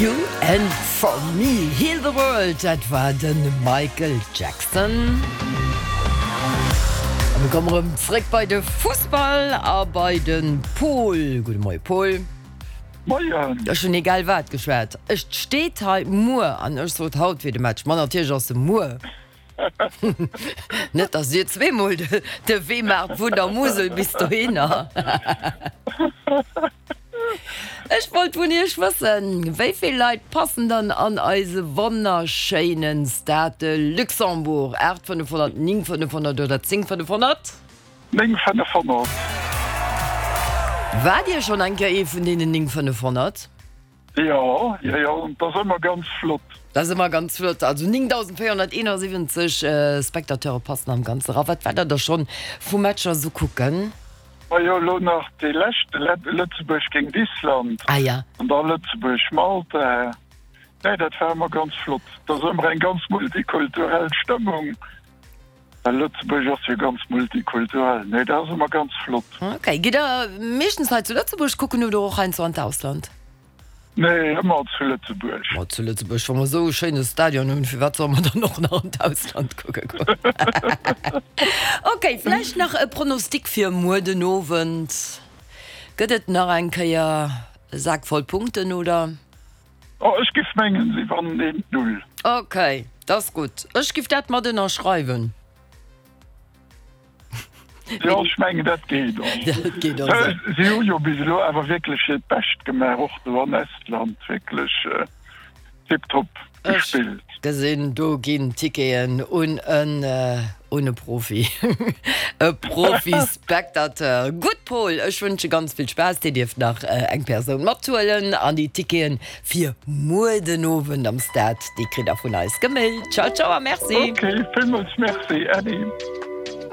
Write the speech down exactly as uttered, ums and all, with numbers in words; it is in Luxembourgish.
You and for me, heal the world, dat war de Michael Jackson. A mir komme rëm zréck bei de Fussball a bei de Paul. Gudde Moie Paul. Moien. Ech hunn egal wat geschwat. Et steet hei muer an ech sot haut wier de Match. Ma natierlech ass e muer. Net dass Dir zweemol de Wee maacht vun der Musel bis dohinner. Ech wollt vun Iech wëssen, wéi vill Leit passen dann an eise wonnerschéinen Stade de Luxembourg? Aacht fënnefhonnert, néng fënnefhonnert oder zéng fënnefhonnert? Néng fënnefhonnert. Waart Dir schonn eng Kéier ee vun deenen néng fënnefhonnert? Jo, jo, jo, an 't ass ëmmer ganz flott. Dat ass ëmmer ganz flott. Also néngdausendvéierhonnerteenasiwwenzeg Spectateure passen am Ganze era. Wat waart Der da schonn vu Matcher esou kucken? Majo, elo nach dee leschte, Lëtzebuerg géint Island. Ah ja. An da Lëtzebuerg-Malta. Nee, dat war ëmmer ganz flott. Et ass ëmmer eng ganz multikulturell Stëmmung, well Lëtzebuerg ass jo ganz multikulturell. Nee, dat ass ëmmer ganz flott. Ok. Gitt Der meeschtens hei zu Lëtzebuerg kucken oder och heiansdo an d'Ausland? Nee, ëmmer zu Lëtzebuerg. Ma zu Lëtzebuerg, wa mer esou e schéine Stadion hunn, firwat solle mer dann och nach an d'Ausland kucke goen? Ok, vläicht nach e Pronostic fir muer den Owend. Gëtt et nach eng Kéier e Sak voll Punkten, oder? Oh, ech giff mengen, si wannen eent Null. Ok, dat ass gutt. Ech giff dat mat ënnerschreiwen. Jo, ech mengen, dat geet och. Dat geet och esou. Si hu jo bis elo awer wierklech hiert Bescht gemaach, och do an Estland, wierklech tiptop gespillt. Ech gesinn, do ginn Ticketen un en, un e Profi, e Profi-Spectateur. Gutt, Paul, ech wënsche ganz vill Spaass. Dir dierft nach eng Persoun mathuelen an déi Ticketen fir muer den Owend am Stade, déi kritt der vun eis gemailt. Ciao, ciao a merci. Ok, villmools merci, Äddi.